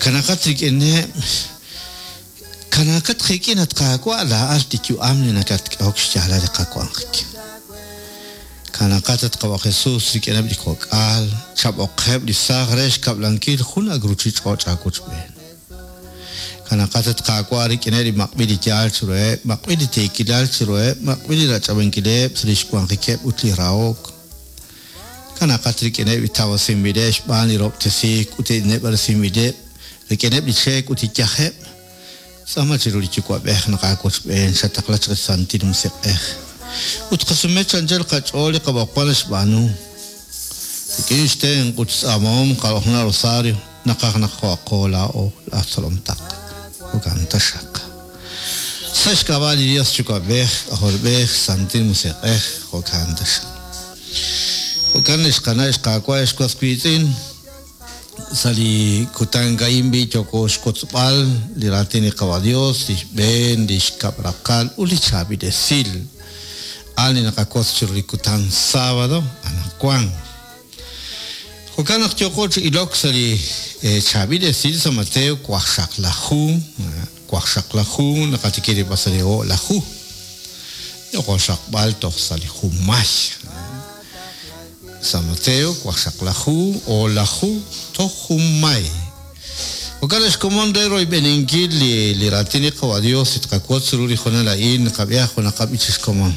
Kanaqat rik'ineb', kanaaqat qik'in at Qaawa' laa'at li yu'am li nakatk'ehok xyaalal li qawanjik. Kanaqat at Qawa' Jesus rik'ineb' li kok'al, chab'oqeb' li saaj re xkab'lankil jun ak' ruchich'och' aawochb'een. Kanaqat at Qaawa' rik'ineb' li maq'b'il li yaal chiruheb', maq'b'il li tiikilal chiruheb', maq'b'il li rach'ab'ankileb' sa' lix wanjikeb' ut li rahok. Kanaqat rik'ineb' li tawasinb'ileb' xb'aan li rahob'tesiik ut li neb'aresinb'ileb', rik'ineb' li cheek ut li yajeb'. Tz'aama chiru li Yuwa'b'ej naq aawochb'een xataqla chaq li Santil Musiq'ej, ut qasume chi anchal qach'ool li qab'oqb'al naxb'aanu. Rik'in xtenq' ut xtz'aamahom qarojna rosario, naqaj naq jo'aqo laa'o laj tzolom taq. Jo'kan taxaq. Sa' xk'ab'a' li Dios Yuwa'b'ej, K'ajolb'ej, Santil Musiq'ej, jo'kan taxaq. Jo'kan ex qana' ex qaawa' ex was wiitz'in, Sa' li kutan a'in b'i' yooko xwotzb'al li raatin li Qawa' Dios, li xb'een, li xkab' raqal ut li chaab'il esil. A'an li naqawotz chiru li kutan sábado anaqwan. Jo'kan naq yooko chi ilok sa' li chaab'il esil sa' Mateo waqxaqlaju, waqxaqlaju naqatikib' rib'al sa' li o'laju. Yooko xraqb'al toj sa' li junmay. Sa' Mateo waqxaqlaju, o'laju, toj junmay. Jo'kan naq xkomon re royb'eninkil li li raatin li Qawa' Dios li tqawotz ru li hoonal a'in, naqab'ihaq junaq qab'ich xkomon.